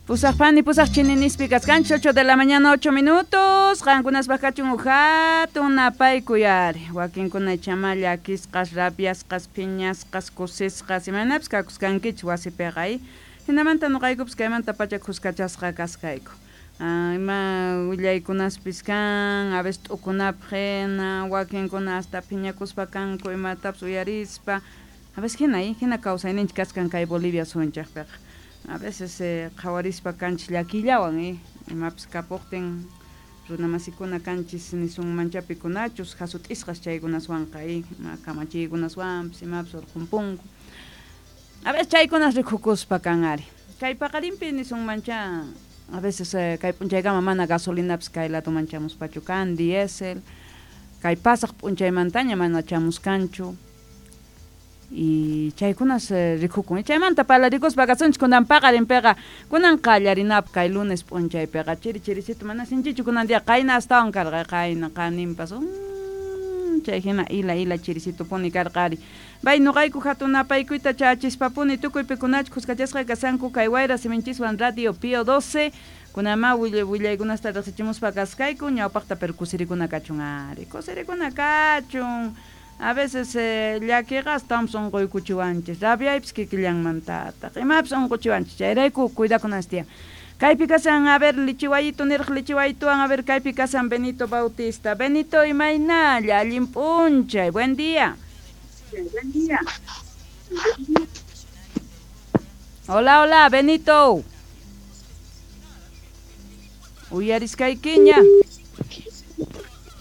Pusaq pusaq chininispi kaskanchis 8 de la mañana 8 minutos. Qankunaspaq kachun uj hatun napaykuy ari. Wakinkuna chama llakisqas, rabiasqas, phiñasqas, kusisqas, imaynapis kakuskankichis wasipiqa. Hinamanta nuqaykupis kaymanta pacha kuskachasqa kaskayku. Ima willaykunaspis kan, a veces t'ukunapaq hina, wakinkuna hasta phiñakuspa kanku imatapis uyarispa. A veces hina, hina kawsayninchik kaskan kay Bolivia suyunchikpiqa. A veces qhawarispa kanchis llakillawan, imapis kapuqtin runamasikuna kanchis nisunmancha pikunachus hasut'isqas chaykunaswanqa, ima kamachiykunaswanpis imapis urqhunpunku. A veces chaykunas rikukuspa kan ari. Kay paqarinpi nisunmancha a veces kay p'unchaykama mana gasolinapis kay ladoman chamuspachu kan, diésel, kay pasaq p'unchaymantaña mana chamuskanchu. Y chaykunas rikukun. Chaymanta parlarikuspa kasunchik kunan paqarinpiqa, kunan qallarinapaq kay lunes p'unchaypiqa chiri chirisito mana sinchichu kunan día qayna astawan karqa, qayna qaninpas chay hina ila ila chirisitupuni karqa ari. Bay nuqayku hatun napaykuyta chachispapuni tukuy pikunachus kuskachasqa kasanku kay wayra siminchiswan Radio Pío 12 kunama willaykunasta riqsichimuspa kaskayku ñawpaqta pero kusirikuna kachun ari, kusirikuna kachun. A veces llakiqa astawan unquykuchiwanchis, rabiaypis kikillanmantataq, imapis unquchiwanchis, chayrayku cuidakunanchis tiyan. Kaypi kasan, a ver, lichiwayito niraq lichiwayituwan, a ver, kaypi kasan Benito Bautista. Benito, imaynalla, allin p'unchay, buen día. Buen día. Hola, hola, Benito. Uyariskaykiña.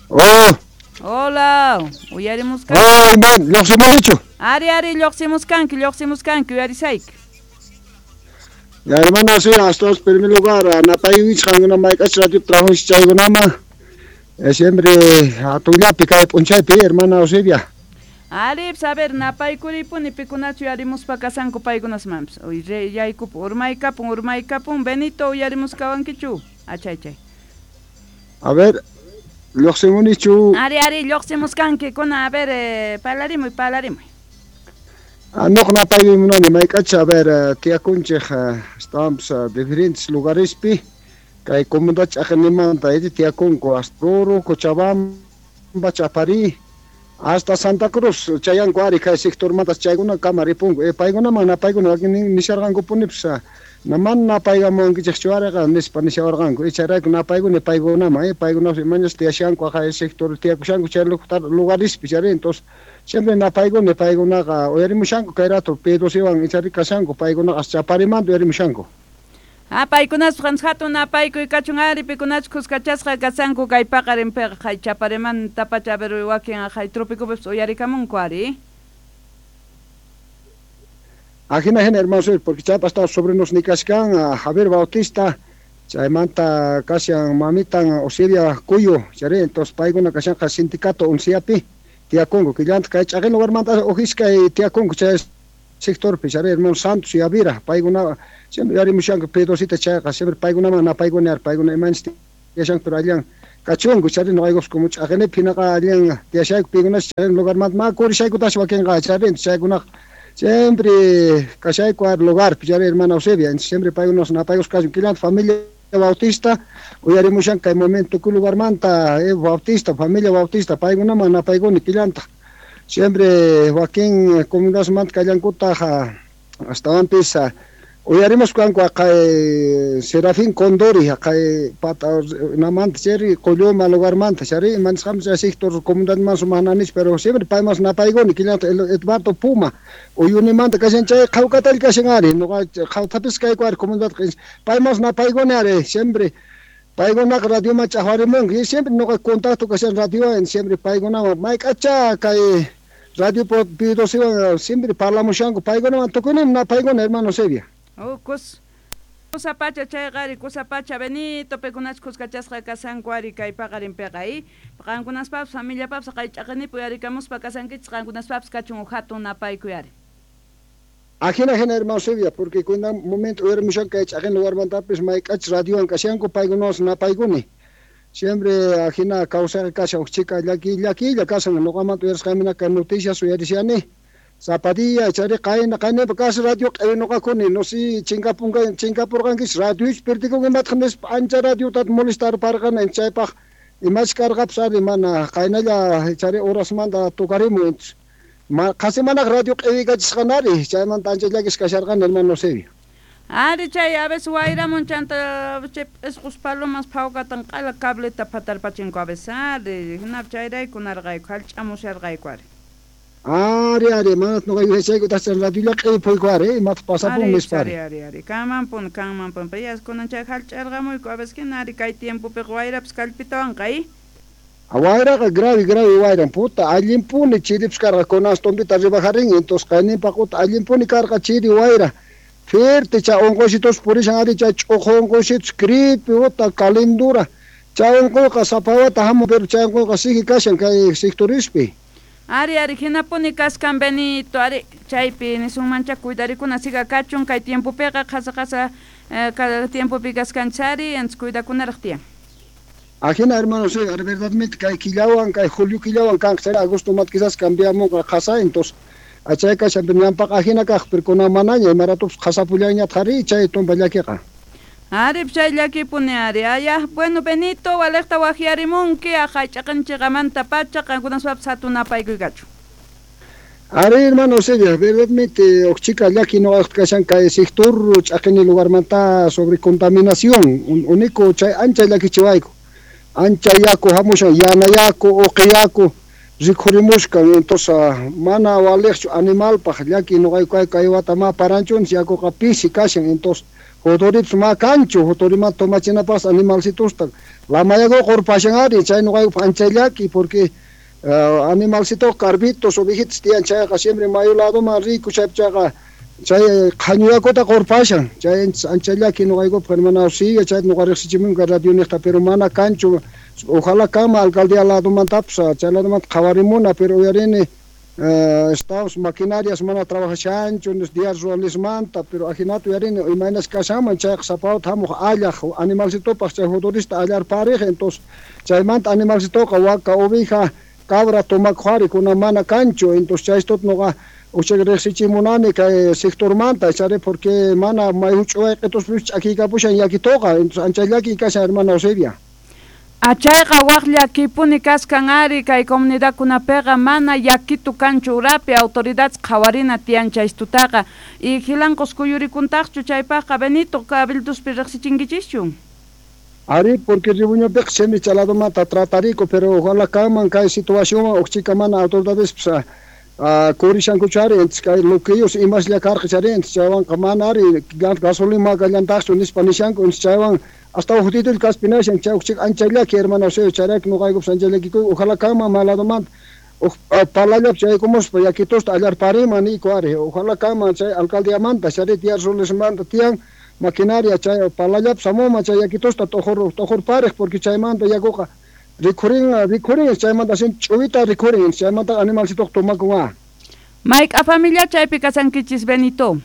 Oh. Hola, uyarimuskanki. Oh, man, lluqsimunichu. Ari, ari, lluqsimuskanki, lluqsimuskanki, uyarisayki. Ya, hermano, sí, hasta en primer lugar, napayuich qankuna mayk'ach radio trabajo chaykunama. Siempre atullapi kay p'unchaypi, hermana Eusebia. Ari, a ver, napaykuripuni pikunachu uyarimuspa kasanku paykunasmanpis. Uy, yaykupun, urmaykapun, urmaykapun, Benito, uyarimuskawankichu. Achay, chay. A ver, lluqsimunichu. Ari, ari, lluqsimuskanki, kuna, a ver, parlarimuy, parlarimuy. Nuq napaykuy munani mayk'ach, a ver, tiyakunchik, estamos diferentes lugarespi, kay comunidad ch'aqinimanta tiyakunku, hasta Oruro, Cochabamba, Chaparí, hasta Santa Cruz, chayanku ari kay sectormanta chaykuna kama ripunku. Paykunaman napaykuna nisharqankupunipis, mana napaykamuwankichikchu ariqa nispa nishawarqanku. Chayrayku napaykuni paykunaman, paykunapas imañas tiyashanku aqay sector tiyakushanku chay lugarespi chari, entonces siempre napaykuni paykunaqa uyarimushanku kay rato P12wan ichari kashanku paykunaqa Chaparimanta uyarimushanku. Ah, paykunaspa hatun napaykuy kachun ari pikunachus kuskachasqa kasanku kay paqarinpiqa kay Chaparimanta pacha, a ver, wakin kay tropicopipis uyarikamunku ari. Ajina hina, hermano, porque chaypas está sobrinos nikashkan, Javier Bautista, chaymanta kashan mamitan Osiria Cuyo, chari, entonces paykuna kashanqa sindicato unciapi tiyakunku, killanta kay ch'aqin lugarmanta ujiskay tiyakunku chay sectorpi, chari, hermano Santos y Avira, paykuna siempre yarimushanku P2 chayqa, siempre paykunaman napaykuni ari, paykuna imanchis tiyashanku, pero allan kachunku, chari, nuqaykupas como ch'aqinipi hinaqa allan tiyashayku paykunas chay lugarmanta ma kurishaykutas wakinqa, chari, chaykunaqa siempre kashayku ar lugar, chari, hermana Eusebia, siempre paykunas napaykus kachun, killanta familia Bautista, uyarimushan kay momento ku lugarmanta, Bautista, familia Bautista, paykunaman napaykuni killanta. Siempre wakin comunidadmanta kallankutaq astawanpis uyarimus kanku aqay Serafín Condori, aqay pata namanta chari Qolluma lugarmanta, chari, imanisqanpis chay sector comunidadman sumaq pero siempre paymas napaykuni killanta Eduardo Puma, Uyunimanta kashan chay qhawkatalla kashan ari, nuqa qhawtapis kayku ari comunidad paymas napaykuni ari, siempre paykunaqa radioman ch'aqwarimunku, y siempre nuqa contacto kashan radiowan, siempre paykunawan mayk'acha kay radio P12wan siempre parlamushanku paykunawan tukuynimi napaykuni, hermano Eusebia. Oh, kusa pacha chayqa ari, kusa pacha Benito, pikunachus kuskachasqa kasanku ari kay paqarinpiqa, qankunaspapis familiapapis kay ch'aqinipi uyarikamuspa kasankichis, qankunaspapis kachun uj hatun napaykuy ari. Ajina hina, hermano Eusebia, porque kunan momento uyarimushanku kay ch'aqin lugarmantapis mayk'ach radiowan kashanku paykunawan napaykuni. Siempre ajina kawsayqa kashan uj chika llaki llakilla kashan, nuqamanta uyarisqaymina kay noticias uyarishani. Zapadilla chari qayna qaynapi kas radio q'aynuqakuni no si chinkapurqankis radioich perdikunki imataq nispa ancha radiota molestarparqani chaypaq imash karqapis ari mana qaynalla chari horasmanta tukarimu qasi manaq radio q'iwikachisqanari chaymanta ancha llakis kasharqani hermano Eusebio. Ari chay a veces wayramun chanta chay p'isqus palomas phawkatan q'ala cableta phatarpachinku a veces ari hinapi chayrayku narqayku hallch'amusharqayku ari. Ari ari mana nuqa yuyachayku tachan radiolla q'ipuyku ari imataq pasapun nispa ari. Ari ari kanmanpuni kanmanpuni payas kunan chay hallch'arqamuyku a veces hina ari kay tiempopiqa wayrapis kallpitawanqa Wayraqa grave grave wayran puta allinpuni chiripis karqa kunan tumpita ribajarin entonces qayninpaq uta allinpuni karqa chiri wayra fuerte chay unquysitus purishan ari chay ch'uqu unquysitus gripe uta calendura chay unquyqa sapa wata hamun pero chay unquyqa sigue kashan kay sectorispi. Ari ari hinapuni kaskan Benito ari chaypi nisunmancha cuidarikuna siga kachun kay tiempopiqa qhasa qhasa tiempopi kaskanchari entonces cuidakunaraq tiyan. Ajina hermano sí, verdadmente kay killawan kay julio killawan kanqa chay agosto mat quizás cambiamunqa qhasa entonces chay kashan pero ñanpaqa ajina kaq pero kunan manaña imaratupis qhasapullañataq ari chay tumpa llakiqa. Ari chay llakipuni ari aya bueno Benito waliqta waqyarimunki hallch'aqanchiqamanta pacha qankunaspapas hatun napaykuy Ari hermano Eusebio, verdadmente uqchika llaki nuqaqta kashan kay sector ch'aqini lugarmanta sobre contaminación único chay ancha llakichiwayku ancha yaku hamushan yana yaku uqi yaku rikhurimushkan entonces mana waliqchu animalpaq llaki nuqayku kay wata ma paranchunchis yakuqa pisi kashan entonces juturipis ma kanchu juturimanta tomachinapas animalcitusta lamayakuqa qurpashan ari chay nuqaykupaq ancha llaki porque animalcito carbitos ovejitas tiyan chayqa siempre mayu ladoman riku chaypi chayqa chay qhañu yakuta qurpashan chay ancha llaki nuqaykupaq hermana Eusebio chayta nuqa riqsichimunqa radio niqta pero mana kanchu ojalá kanman alcaldía ladomantapis chay ladomanta qhawarimuna pero uyarini estamos maquinarias mana trabajashanchu días ruralismanta pero ajinata uyarini imaynas kashanman chayqa sapa wata hamuq allaq animalcitopaq chay juturista allarpariq entonces chaymanta animalcitoqa waka oveja cabra tomakuq ari kunan mana kanchu entonces chaystuta nuqa uchak riqsichimunani kay sectormanta chari porque mana may huch'uway q'ituspis ch'akiykapushan llakituqa entonces ancha llaki kashan hermana Eusebia. Achayqa waq llakipuni kaskan ari kay comunidadkunapiqa mana llakitu kanchu urapi autoridades qhawarina tiyan chaystutaqa y Jilanqos kuyurikuntaqchu chaypaqqa Benito cabildospi riqsichinkichischu. Ari porque Ribuñopiqa siempre chay ladomanta tratariku pero ojalá kanman kay situacionwan uqchika mana autoridades kurishankuchu ari entonces kay loquillos imaslla karqa chari entonces chaywanqa mana ari gasolina ma kallantaqchu nispa nishanku entonces chaywan hasta uqtitulla kaspinashan chay uqchika ancha llaki hermano Eusebio chayrayku nuqaykupis ancha llakikuyku ojalá kanman ma ladomanta uq palallapis chaykumuspa yakitusta allarpariman niyku ari ojalá kanman chay alcaldiamanta chari Díaz Rollesmanta tiyan maquinaria chay palallapis hamunman chay yakitusta t'uqurpariq porque chaymanta yakuqa rikhurin chaymanta sin ch'uwita rikhurin chaymanta animalcitoqa tomakun. Mayk'a familia chaypi kasankichis Benito?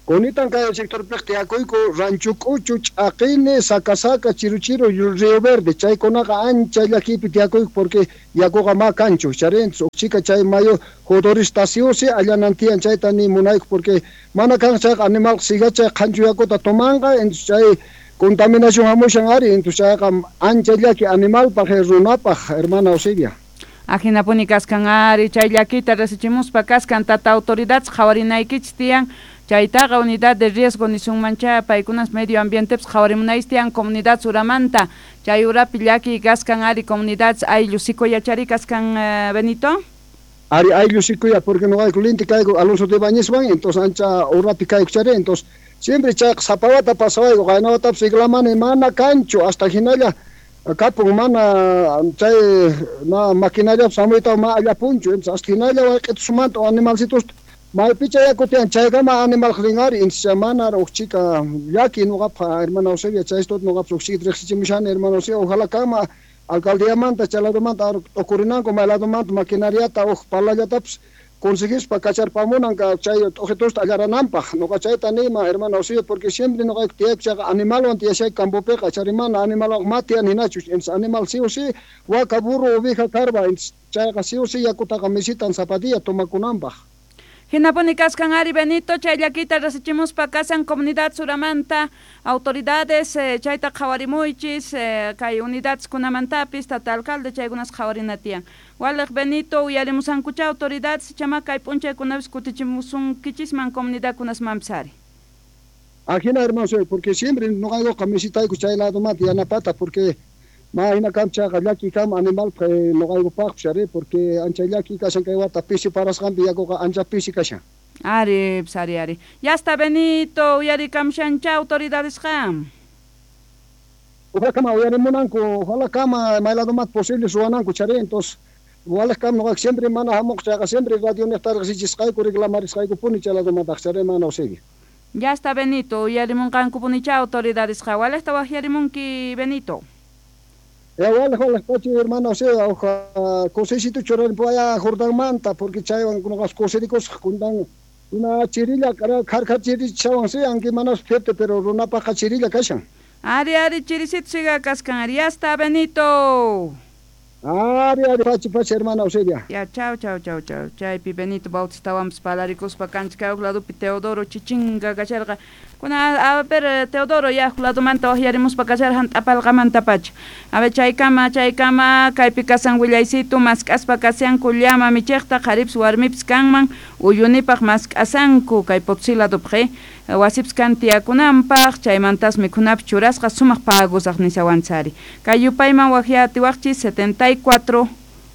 Kunitan kay sectorpiq tiyakuyku Rancho K'uchu, Ch'aqini, Saca Saca, Chiru Chiru, Río Verde chaykunaqa ancha llakipi tiyakuyku porque yakuqa ma kanchu chari uqchika chay mayu juturista sí o sí allanan tiyan chayta ni munayku porque mana kan chayqa animalqa siga chay qhanchu yakuta tomanqa entonces chay contaminación hamushan ari entonces chayqa ancha llaki animalpaq runapaq hermana Eusebia. Ajinapuni kaskan ari chay llakita riqsichimuspa kaskan tata autoridades qhawarinaykichis tiyan chaytaqa unidad de riesgo nisunmancha paykunas medio ambientepis qhawarimunaychis tiyan comunidad uramanta chay urapi llaki kaskan ari comunidades ayllu sikoyachari kaskan Benito. Ari ayllu sikoya porque nuqayku linti kayku Alonso de Bañezwan entonces ancha urapi kayku chari entonces siempre chayqa sapa wata pasawayku qayna watapis iglamani mana kanchu hasta hinalla kapun mana chay na maquinariapis hamuyta ma allapunchu entonces hasta hinalla wayq'itusmanta animalcitusta maypicha yaku tiyan chaykama animalqa rin ari entonces mana uqchika llaki nuqapaq hermana Eusebia chaystuta nuqapis uqchikita riqsichimushani hermana Eusebia ojalá kanman alcaldiamanta chay ladomanta t'ukurinanku may ladomanta maquinariata uq palallatapis conseguispa kacharpamunan chay t'uqitusta allarananpaq nuqa chayta niyman hermana Eusebia porque siempre nuqayku tiyayku chayqa animalwan tiyashayku campopiqa chari mana animalwan ma tiyan hinachu entonces animal sí o sí waka burro oveja karba entonces chayqa sí o sí yakutaqa misitan sapa día tomakunanpaq. Hinapuni kaskan ari Benito, chay llakita rasichimuspa kasan comunidad suramanta autoridades chayta qhawarimuychis kay unidades kunamantapis tata alcalde chaykunas qhawarina tiyan. Waliq Benito uyarimusankucha autoridades chama kay p'unchaykunapis kutichimusunkichisman comunidadkunasmanpis ari. Ajina hermano, porque siempre noqaykuqa misitayku chay ladomanta yanapata porque ma hina kam chayqa llaki kam animal noqaykupaqpis ari porque ancha llaki kashan kay wata pisi parasqanpi yakuqa ancha pisi kashan. Ari, pis, ari, ari. Ya está Benito, uyarikamshancha autoridadesqa. Ojalá kama uyarimunanku, ojalá kama may ladomanta posible ruwananku chari, entonces waliq kam noqayku siempre mana hamuq chayqa siempre radio niqta riqsichisqayku reclamarisqaykupuni chay ladomantaq chari mana Eusebia. Ya está Benito, uyarimunqankupunicha autoridadesqa. Waliqta waqyarimunki Benito. Waliq waliq pachi hermano Eusebia, uqa kusisito churarinpuaya Jordanmanta porque chaywan noqas kusirikusaq kuntan una chirilla kharkha chirichawan sí, aunque manas fuerte, pero runapaqqa chirilla kashan. Ari, ari, chirisito siga kaskan, ari, ya está Benito. Ari, ari, pachi, pachi, hermana Eusebia. Ya, chau, chau, chau, chau. Chaypi Benito Bautistawanpis palarikuspa kanchik kay huk ladopi Teodoro Chichinga kasharqa. Kuna, a ver, Teodoro, ya huk ladomanta waqyarimuspa kasharqa t'apalqamantapacha. A ver, chaykama, chaykama, kaypi kasan willaysitu, mask'aspa kashanku llama michiqta, qharipis warmipis kanman, uyunipaq mask'asanku kay Potosí ladopaq, wasipis kan tiyakunanpaq, chaymantas mikhunapis churasqa sumaq pagusaq nishawanchari. Kay yupayman waqyatiwaqchis 74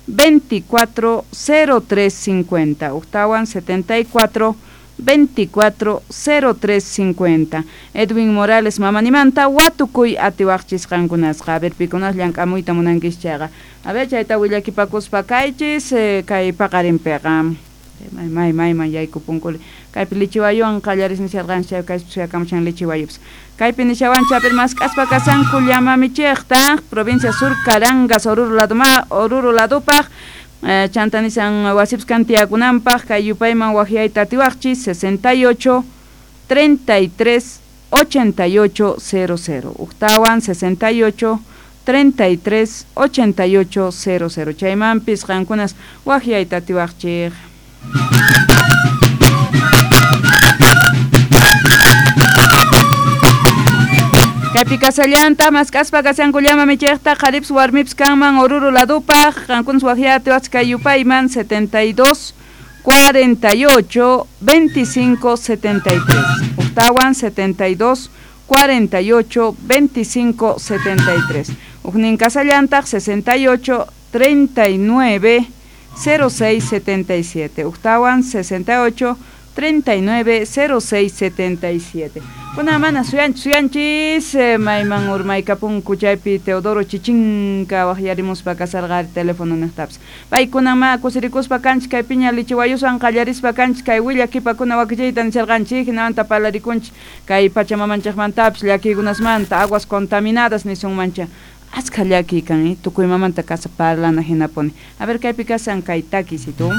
24 03 50. Uktawan 74 24 03 50. Edwin Morales mamanimanta watukuy atiwaqchis qankunasqa. A ver, pikunas llank'amuyta munankis chayqa. A ver, chayta willakipakuspa kaychis kay paqarinpiqa. May may mayman yaykupunkuli. Kaypi lichiwayuwan qallaris nisharqanchik chay kaypi suyakamushan lichiwayupis. Kaypi nishawanchik a ver mask'aspa kasanku llama michiqta provincia sur Carangas Oruro ladoma Oruro ladupaq chanta nisan wasipis kan tiyakunanpaq kay yupayman waqyayta atiwaqchis 68 33 88 00. Uktawan 68 33 88 00. Chaymanpis qankunas waqyayta atiwaqchik. Kaypi kasallanta mask'aspa kashanku llama michiqta qharipis warmipis kanman Oruro ladupaq qankunas waqyatiwaqchik kay yupayman 72 48 25 73. Uktawan 72 48 25 73. Ujnin kasallantaq 68 39 06 77. Uktawan 68 39 06 77. Kuna mana suyanchis mayman urmaykapunku chaypi Teodoro Chichinka waqyarimuspa kasarqa teléfono niqtapis. Paykuna ma kusirikuspa kanchik kay piña lichiwayuswan qallarispa kanchik kay willakipakuna wakichiyta nisharqanchik hinamanta parlarikunchik kay pachamamanchikmantapis llakiykunasmanta aguas contaminadas nisunmancha. Askha llakiy kan, tukuy mamanta kasa parlana hinapuni. A ver kaypi kasan kay takisitu.